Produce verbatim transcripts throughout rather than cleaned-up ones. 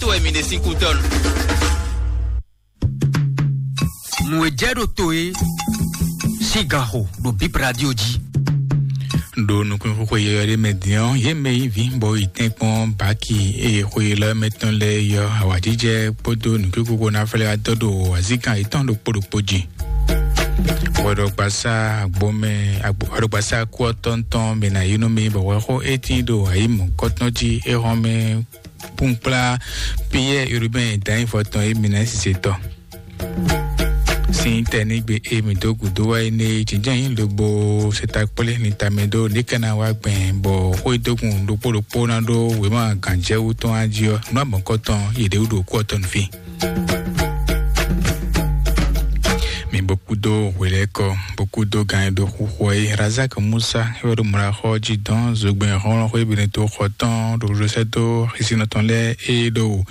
To wɛ mi ɖe sín kú tɔn. Nǔ e jɛ ɖo to e sín gan xo ɖo Bib Radio jí. Ɖo nukúnxó xwe yɔyɔ ɖé mɛ din ɔ́, yě mɛ yí vǐ bɔ yi tɛ́nkpɔ́n baki eye xwe lɔ́ mɛ tɔn lɛ́ɛ yɔ awǎjijɛ kpódó nǔkúkú kó ná flɛ́ wá dɔ ɖo azíkan yětɔn ɖokpó ɖokpó jí. Hwɛɖɔgbasá agbomɛ, agbo-, hwɛɖɔgbasá kú ɔ́ tɔntɔn mɛ ná yi nú mi bɔ hwɛxó étín ɖo ayǐ mɔ̌kɔtɔn jí é hɔn mɛ kpúnkplá Piyɛ́ɛ Urubɛ́n dǎnyífɔ tɔn e mi ná sise tɔn. Sín tɛnígbe e mi dó gǔdo wá é née jínjɔ́n nyí lobo seta kplé lintamɛ dó níkɛ́ná wá gbɛn bɔ xwédógún ɖokpó ɖokpó ná ɖó wěma gǎnjɛwú tɔn á jí ɔ́, nǔ abɔ̌kɔtɔn yě ɖě wú ɖo kú ɔ́ tɔn nú fí. Mi bó kúdó hwelɛ́kɔ, bó kúdó gǎn e ɖo xúxú ɔ́ é. Razak Musa é wɛ ɖo mlɔ́xɔ jí dɔn zogbɛ́n hlɔ́nhlɔ́n xwé Beneto xɔ tɔn ɖo Josɛ́ dó xísínɔ tɔn lɛ́ɛ e ɖo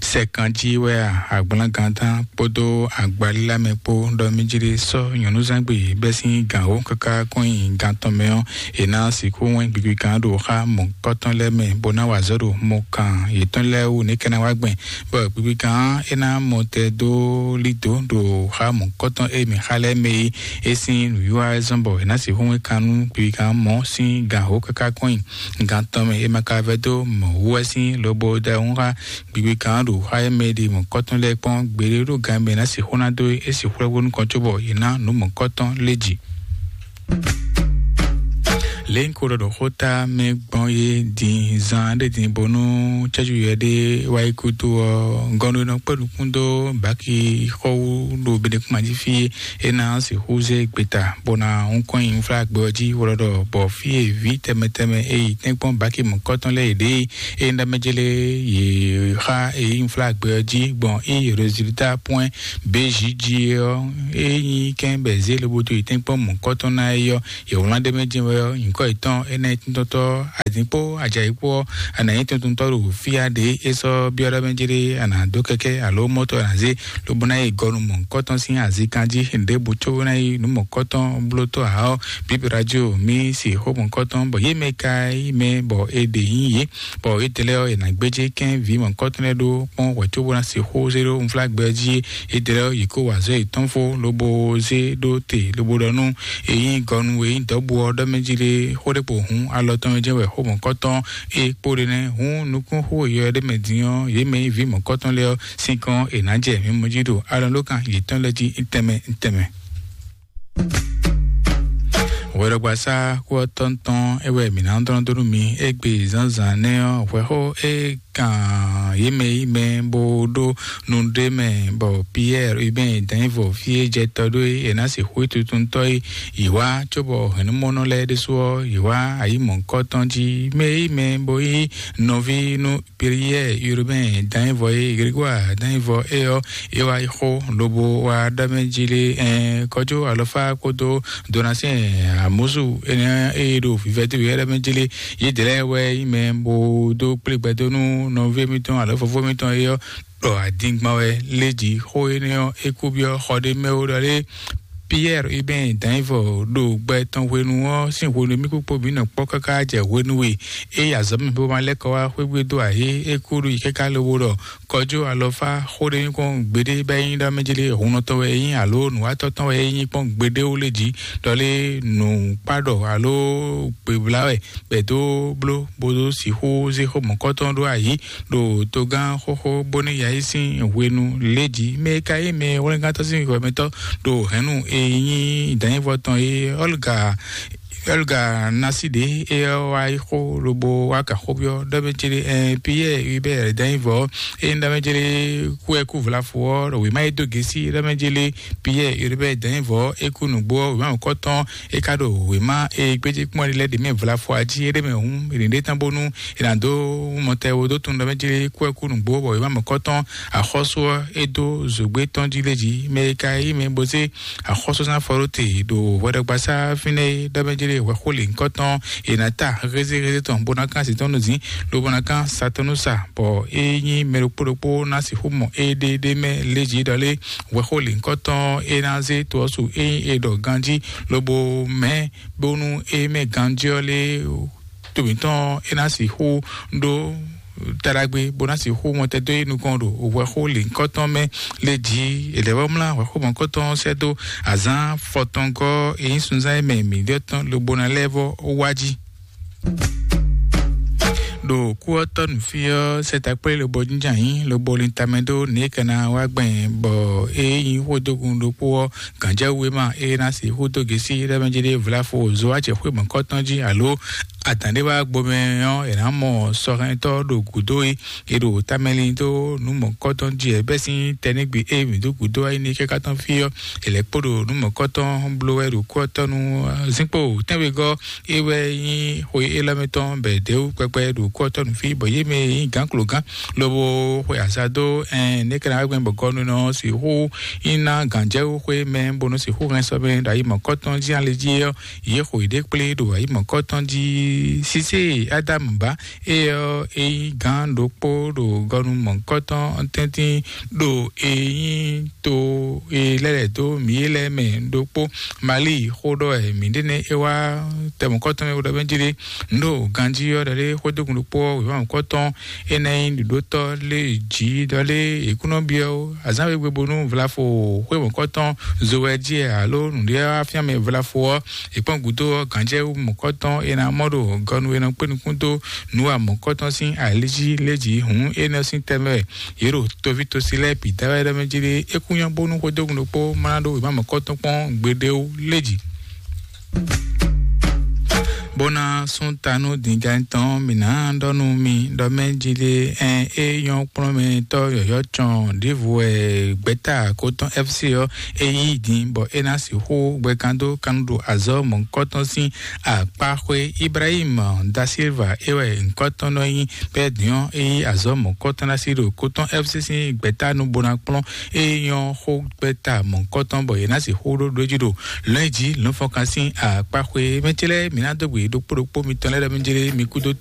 sɛkan jí wɛ a, agblán gantán kpódó agbalílá mɛ kpó ɖɔ mí jlí sɔ́ nyɔ̌núzangbe bɛ́ sín gǎn wǒ káká kɔn nyi gan tɔn mɛ ɔ́, è nǎ sixú wɛ́n gbigbikan ɖo xá mɔ̌kɔtɔn lɛ́ɛ mɛ, bó ná wa azɔ̌ ɖo mɔkan yětɔn lɛ́ɛ wú nɛ̌ ká ná wá gbɛn, bɔ gbigbikan ɔ́ é ná mɔ tɛ dó lí dǒ ɖo xá mɔ̌kɔtɔn e mǐ xa lɛ́ɛ mɛ é. É sín nǔwiwa wɛ zɔ́n bɔ è nǎ sixú wɛ́n kan nú gbigbikan ɔ́ mɔ̌ sín gǎn wǒ káká kɔn nyi gan tɔn mɛ, è ma ka vɛdó mɔ̌ wú wɛ sín lobo da wǔ xá gbigbikan ɔ́ ɖo xá e mɛ e ɖi mɔ̌kɔtɔn lɛ́ɛ kpɔ́n gbeɖé ɖó gan e mɛ è nǎ sixú ná dó é sixú lɛ́ bónú kɔn cóbɔ yě ná nǔ mɔ̌kɔtɔn lé jǐ. Lě un ko ɖɔ ɖo xóta mɛ gbɔn é din zan ɖé din bónú cɛ́jú yɛ ɖé wá yi kútú ɔ́, gɔnu e nɔ kpɛ́ nukún dó baki xɔ wú ɖo Benekuma jí fí é, é ná sixú zé gbeta bó ná hun kɔn nyi unflágbɛ ɔ́ jí wlɔ́ɖɔ bɔ fí e vǐ tɛnmɛ tɛnmɛ e yi tɛ́nkpɔ́n baki mɔ̌kɔtɔn lɛ́ɛ yě ɖe é, é nyí ɖɔ mɛ jélé yě xa e nyí unflágbɛ ɔ́ jí gbɔn é résultat point B J J ɔ́, é nyí kɛ́n bɛ zé lobo dó yi tɛ́nkpɔ́n mɔ̌kɔtɔn ná é ɔ́, yě wlán ɖ'é mɛ jɛ́n wɛ ɔ́, nyǐkɔ yětɔn énɛ́ tíntɔ́tɔ́ adǐnkpó ajayi kpó ɔ́, a nǎ nyí tuntuntɔ́ ɖo fí a ɖě é sɔ́ byɔ́ ɖɔ mɛ jéré a nǎ dó kɛ́kɛ́ alo mɔ́tɔ́ a nǎ zé, lobo ná yi gɔnu mɔ̌hunkɔtɔn sín azinkan jí, ɖěbǔ có ná yi nǔ mɔ̌kɔtɔn blótɔ́ ǎ ɔ́, Bíbí Radio mí se xó mɔ̌kɔtɔn, bɔ yě mɛ ka yí mɛ bɔ è ɖe nyí yě, bɔ étɛ́ lɛ́ɛ ɔ́, è nǎ gbéjé kɛ́n vǐ mɔ̌kɔtɔn lɛ́ɛ ɖó kpɔ́n hwɛ̌ cóbó ná se xó zé ɖó unflágbɛ jí. Étɛ́ lɛ́ɛ ɔ́, yě kó wa azɔ̌ yětɔn fó, lobo zé ɖó te, lobo ɖɔ nú è nyí gɔnu e nyí dɔ̌bú ɔ́ ɖɔ mɛ jí lé, xó ɖé kpo hǔn alɔ tɔn jɛ́n wɛ xó mɔ̌kɔtɔn é kpo ɖe nɛ́. Hǔn nukúnxó e yɔ ɖé mɛ din ɔ́, yě mɛ nyí vǐ mɔ̌kɔtɔn lɛ́ɛ ɔ́ sín kɔn è nǎ jɛ mǐmɔ́ jí ɖo alɔnlókan yětɔn lɛ́ɛ jí tɛnmɛ tɛnmɛ. Hwɛɖɔgbasá kú ɔ́ tɔn tɔn é wɛ mǐ ná dɔn dó nú mi égbé zǎnzǎn nɛ́ ɔ́, hwɛxó é kan yě mɛ yí mɛ bó ɖó nu ɖé mɛ, bɔ Piyɛ́ɛ Ubɛ́n dǎnyívɔ fí e jɛ tɔ ɖó é, è nǎ sixú yi tuntun tɔ́ yi. Yě wá cóbɔ hɛ̌nnumɔnɔ lɛ́ɛ ɖésú ɔ́, yě wá ayǐ mɔ̌hunkɔtɔn jí. Mɛ yí mɛ bó yí nɔví nú Piyɛ́ɛ Urubɛ́n dǎnyívɔ e Gregwaa dǎnyívɔ é ɔ́, é wá yi xó lobo wá ɖɔ mɛ jí lé, ɛɛ, kɔjú alɔfá kpódó Donasɛn Amusu énɛ́ e ɖo vivɛdó wɛ ɖɔ mɛ jí lé. Yědɛɛ lɛ́ɛ wɛ nyí mɛ bó dó kplé gbɛdó nú nɔví mitɔn alɔ fofó mitɔn é ɔ́, ɖɔ adingban wɛ lé jǐ. Xó énɛ́ ɔ́, é kú byɔ́ xɔ ɖé mɛ ó ɖɔ lé. Piyɛ́ɛ Ubɛ́n dǎnyívɔ ɖo gbɛ tɔn hwenu ɔ́ sín hwenu e mí kpókpó mǐ nɔ kpɔ́ káká jɛ hwenu e é yi azɔ̌ mɛ bó ma lɛ́ kɔ wá xwé gbe dó ayé, é kú ɖo yi káká lobo ɖɔ kɔjú alɔfá xó ɖé nyí kpɔ́n gbeɖé bɔ é nyí ɖɔ mɛ jlé hunnɔtɔn wɛ é nyí alo nǔwatɔ́ tɔn wɛ é nyí kpɔ́n gbeɖé ó lé jǐ, ɖɔ lé nǔkpá ɖɔ alo gběblá wɛ bɔ è dó bló bó dó sixú zé xó mɔ̌kɔtɔn ɖó ayǐ ɖo togán xóxó bónú yǎ yi sín hwenu lě jí. Mɛ e ka nyí mɛ hwlɛ́ngántɔ́ sín hwɛmɛtɔ́ ɖo hɛ̌nnu e nyí dǎnyívɔ tɔn é, Ɔ́lga Ɔ́lga Nasi ɖě é ɔ́ wá yi xó lobo wá ka xó byɔ́ ɖɔ mɛ jlé, ɛɛ, Piyɛ́ɛ Hubɛ́ɛ dǎnyívɔ é nyí ɖɔ mɛ jlé kú ɛ kú vlafo ɔ́, ɖo wěma e dó gěsí ɖɔ mɛ jlé Piyɛ́ɛ Hubɛ́ɛ dǎnyívɔ é kú nǔgbó ɔ́, wěma mɔ̌kɔtɔn é ka ɖo wěma e gbéjé kpɔ́n ɖi lɛ́ɛ ɖě mɛ vlafo jí é ɖé mɛ hǔn, è nǐ ɖe tán bónú è nǎ dó mɔtɛwo dó tunwun ɖɔ mɛ jlé kú ɛ kú nǔgbó, bɔ wěma mɔ̌kɔtɔn axɔ́sú ɔ́ é dó zǒgbé tɔn jí lé jí. Mɛ e ka yí mɛ bó zé axɔ́súzán fɔ ɖó te ɖo hwɛɖɔgbasá fínɛ́ é ɖɔ mɛ jlé hwɛxó lěhunkɔtɔn è nǎ ta hézéhézé tɔn bó ná kán sin tɔn nú zǐn, lobo ná kán sa tɔn nú sa, bɔ é nyí mɛ ɖokpó ɖokpó ná sixú mɔ éɖéɖé mɛ lé jí ɖɔ lé hwɛxó lǐnkɔtɔn é ná zé to ɔ́ su é nyí è ɖɔ ganjí, lobo mɛ̌ bónú é mɛ ganjí ɔ́ lé to mǐtɔn é ná sixú ɖó taɖagbe bó ná sixú mɔtɛdó yi nukɔn ɖo hwɛxó lǐnkɔtɔn mɛ lé jí. È lɛ́ vɔ́ mlá hwɛxó mɔ̌kɔtɔn sɛ́ dó azǎn fɔtɔngɔ́ e nyí sunzán e mɛ mǐ ɖɔ tɔn lobo ná lɛ́ vɔ́ wá jí. Ɖo kú ɔ́ tɔ́ nǔ fí ɔ́, sɛ́takplé lobo jínjɔ́n ayǐ lobo lin tamɛ dó nǔ e ka ná wá gbɛn, bɔ é nyí xwedógun ɖokpó ɔ́, gǎnjɛwú e ma é ná sixú dó gěsí ɖɛ́mɛjí ɖé vlafo zowácɛ xwé mɔ̌kɔtɔn jí alo adǎn ɖé wá gbomɛ ɔ́, è nǎ mɔ sɔhɛntɔ́ ɖo gǔdo e è ɖo tamɛlin dó nǔ mɔ̌kɔtɔn jí ɛ bɛ́ sín tɛnígbe e mǐ dó gǔdo ayí ní kɛ́ká tɔn fí ɔ́, è lɛ́ kpo ɖo nǔ mɔ̌kɔtɔn bló wɛ ɖo kú ɔ́ tɔ́ nu. Zinkpo tɛ́nwegɔ́ é wɛ nyí xwe élɔ́ mɛ tɔn bɛ dɛ̌wú kpɛkpɛ ɖo kú ɔ́ tɔ́ nu fí, bɔ yě mɛ e nyí gǎnklogán lobo xwe azǎ dó ɛn nɛ́ ká ná wá gbɛn bɔ gɔ́núnɔ sixú nyí ná gǎnjɛwú xwé mɛ bónú sixú hɛn sɔ́ mɛ ɖo ayi mɔ̌kɔtɔn jí ali jí ɔ́, yě xo yěɖée kplé ɖo ayi mɔ̌kɔtɔn jí. Sísé Ádámù ba é ɔ́, é nyí gǎn ɖokpó ɖo gɔnu mɔ̌kɔtɔn tɛ́ntin ɖo e nyí to e lɛ́ lɛ̌ dó mǐ é lɛ́ɛ mɛ ɖokpó. Mali xó ɖɔ wɛ mǐ ɖe nɛ́ é wá tɛ mɔ̌kɔtɔn mɛ ɖɔ bɛ́ jí ɖé. Nǔ ɖo ganjí ɔ́ ɖɔ lé xwédógun ɖokpó ɔ́ wěma mɔ̌kɔtɔn é ná nyí ɖuɖótɔ́ lé jǐ ɖɔ lé è kún nɔ byɔ́ ó. Azǎn we gbe bónú vlafo xwé mɔ̌kɔtɔn zo wɛ jí ɛ alo nǔɖé wá fíán mɛ vlafo ɔ́, è kpɔ́n gǔdo ɔ́, gǎnjɛwú mɔ̌kɔtɔn è nǎ mɔ ɖo gɔnu e nɔ kpé nukún dó nǔ wa mɔ̌kɔtɔn sín alíjí lé jǐ hǔn é nɔ sín tɛmɛ wɛ yě ɖo toví tosi lɛ́ɛ bǐ da wɛ ɖɔ mɛ jí ɖé. É kún nyɔ́ bónú xwedógun ɖokpó má ná ɖó wěma mɔ̌kɔtɔn kpɔ́n gbeɖéwú lé jǐ. Bó ná sún ta nú dǐngán tɔn mǐ ná ɖɔ nú mi ɖɔ mɛ jí ɖé ɛn é nyɔ́ kplɔ́n mɛ tɔ́ yɔ̌yɔ́ cɔn ɖěvo wɛ gbɛ̌ta kótɔn F C ɔ́ é yí din bɔ é ná sixú gbɛkan dó kannu ɖo azɔ̌ mɔ̌hunkɔtɔn sín akpáxwé. Ibrahim da Silva é wɛ nyǐkɔtɔn nɔ nyí bɛ́ din ɔ́ é yí azɔ̌ mɔ̌hunkɔtɔn ná sí ɖo kótɔn F C sín gbɛ̌ta nú bó ná kplɔ́n é nyɔ́ xó gbɛ́ta mɔ̌hunkɔtɔn bɔ yě ná sixú ɖó ɖó jí ɖo lɔ̌nyijǐ lɔ̌nfɔkan sín akpáxwé. Mɛ ce lɛ́ɛ mǐ ná dó gbe ɖokpó ɖokpó mitɔn lɛ́ɛ ɖɔ mí jlé mi kúdó